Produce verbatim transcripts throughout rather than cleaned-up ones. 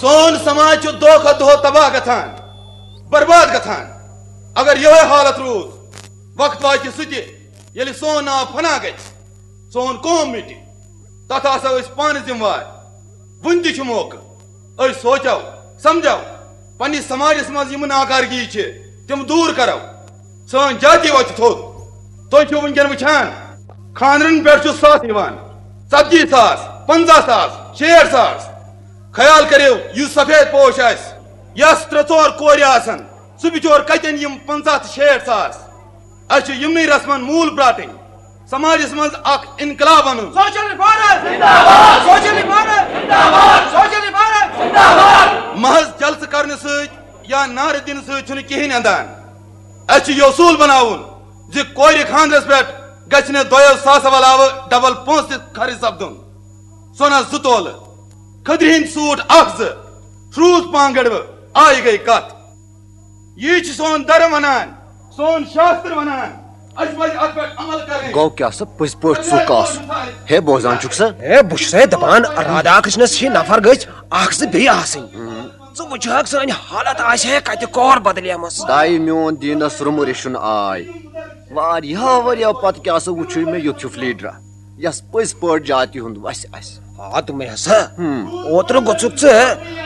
سون سماج چھُ دۄہ کھۄتہٕ دۄہ تباہ گژھان، برباد گژھان۔ اگر یِہوٚے حالت روٗد، وقت واتہِ سُہ تہِ، ییٚلہِ سون ناو فنا گژھِ، سون قوم مِٹہِ۔ تتھ آسو أسۍ پانہٕ ذمہٕ وار۔ وُنہِ تہِ چھُ موقعہٕ۔ أسۍ سونچو، سمجھو، پننِس سماجس منٛز یِم ناکارگی چھِ، تِم دوٗر کرو۔ سٲنۍ جاتی وۄتھِ تھوٚد۔ تُہۍ چھِو وٕنکیٚن وٕچھان، خانٛدرن پٮ۪ٹھ چھُ سَتھ یِوان، ژتجی ساس، پنٛژاہ ساس، شیٹھ ساس۔ خیال کٔرِو، یُس سفید پوش آسہِ، یس ترٛےٚ ژور کورِ آسن، سُہ بِچور کتٮ۪ن یِم پنٛژاہ تہٕ شیٹھ ساس؟ اسہِ چھِ یِمنٕے رسمن موٗل براٹٕنۍ، سماجس منٛز اکھ انقلاب انُن۔ سوشل ریفارم زندہ باد! سوشل ریفارم زندہ باد! سوشل ریفارم زندہ باد! محض جلسہٕ کرنہٕ سۭتۍ یا نعرٕ دِنہٕ سۭتۍ چھُنہٕ کِہیٖنۍ اندان۔ اسہِ چھُ یہِ اصوٗل بناوُن زِ کورِ خانٛدرس پٮ۪ٹھ گژھِ نہٕ دۄیو ساسو علاوٕ ڈبل پونٛسہٕ تہِ خرٕچ سپدُن۔ سۄنس زٕ تولہٕ، کھٔدرِ ہٕنٛدۍ سوٗٹ اکھ زٕ، ٹھروٗز پانٛگڑوٕ، آیہِ گٔے کتھ۔ یی چھُ سون دھرم ونان، سون شاستر ونان، اسہِ پزِ اتھ پٮ۪ٹھ عمل کرٕنۍ۔ گوٚو کیٛاہ سا پٔزۍ پٲٹھۍ ژُک آسُن؟ ہے، بوزان چھُکھ سا؟ ہے، بہٕ چھُسے دپان، رادھا کرشنس ہی نفر گٔژھۍ اکھ زٕ بیٚیہِ آسٕنۍ۔ ژٕ وٕچھہکھ سٲنۍ حالت آسہِ ہے کتہِ کور بدلیمٕژ۔ دایہِ میون دیٖنس روٚمُر رِشُن آے۔ واریاہو ؤرۍیو پتہٕ کیٛاہ سا وٕچھُے مےٚ یُتھ ہیوٗ لیٖڈرا، یس پٔزۍ پٲٹھۍ جاتی ہُنٛد وسہِ آسہِ۔ آ، تہٕ مےٚ ہسا۔ ہم۔ اوترٕ گوٚژھُکھ ژٕ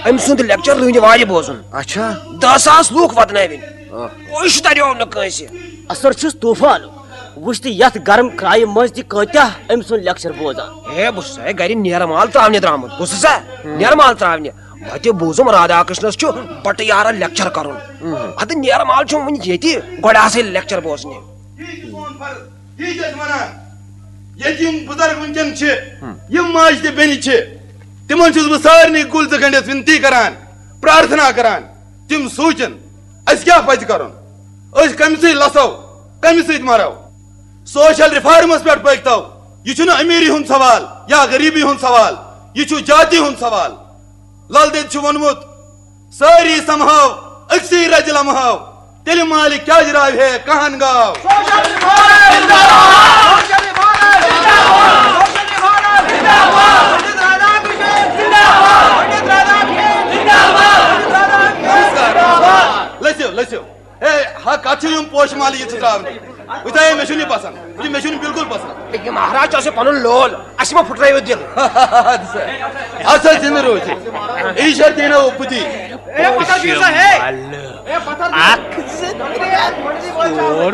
أمۍ سُنٛد لیکچر رٕنٛدِ وارِ بوزُن۔ اچھا۔ دَہ ساس لوٗکھ وۄدنٲوِنۍ۔ آ۔ کوٚش تریو نہٕ کٲنٛسہِ۔ اثر چھُس طوفان۔ وٕچھ تہٕ یتھ گرم کرایہِ منٛز تہِ کۭتیاہ أمۍ سُنٛد لیکچر بوزان۔ ہے، بہٕ چھُسے گرِ نیرٕ مال تراونہِ درامُت، بوٗزتھٕ سا؟ نیرٕ مال تراونہِ۔ وتہِ بوٗزُم رادھا کرشنس چھُ بٹہٕ یارن لیکچر کرُن۔ اہم۔ ادٕ نیرٕ مال چھُم وُنہِ ییٚتہِ، گۄڈٕ آسے لیکچر بوزنہِ۔ یی چھُ سون فرض، یی چھِ أسۍ ونان۔ ییٚتہِ یِم بُزرگ وٕنکیٚن چھِ، ہم۔ یِم ماجہِ تہٕ بیٚنہِ چھِ، تِمن چھُس بہٕ سارنٕے کُلۍ زٕ گٔنڈِتھ وِنتی کران، پرارتھنا کران۔ تِم سونچن، اسہِ کیٛاہ پزِ کرُن؟ أسۍ کمہِ سۭتۍ لسو، کمہِ سۭتۍ مرو؟ سوشل ریفارمس پٮ۪ٹھ پٔکۍتو۔ یہِ چھُنہٕ امیٖری ہُنٛد سوال یا غریٖبی ہُنٛد سوال، یہِ چھُ جاتی ہُنٛد سوال۔ لل دٮ۪د چھُ ووٚنمُت، سٲری سمہاو أکسٕے رزِ لمہاو، تیٚلہِ مالہِ کیٛازِ راوِ ہے کہن گاو؟ سوشل ریفارم زندہ باد! سوشل ریفارم زندہ باد! سوشل ریفارم زندہ باد! پنڈت رادھاکرشن زندہ باد! پنڈت رادھاکرشن زندہ باد! پنڈت رادھاکرشن زندہ باد! لٔسِو، لٔسِو۔ ہے، ہا، کتھ چھِ یِم پوشہٕ مالہٕ یِژھٕ ترٛاونہِ؟ وٕچھا، ہے، مےٚ چھُنہٕ یہِ پسنٛد۔ یہِ مےٚ چھُنہٕ بِلکُل پسنٛد۔ یہِ مہراز چھُ اَسہِ پنُن لول، اَسہِ ما پھُٹرٲیِو دِل؟ اَدٕ سا، اَدٕ سا، زِنٛدٕ روٗزِو۔ ایٖشور دیٖنا اوپُتی۔ اے، پتھر دِیِو سا، ہے۔ اے، پتھر دِیِو۔ اکھ، زٕ، ترٛےٚ، ژور،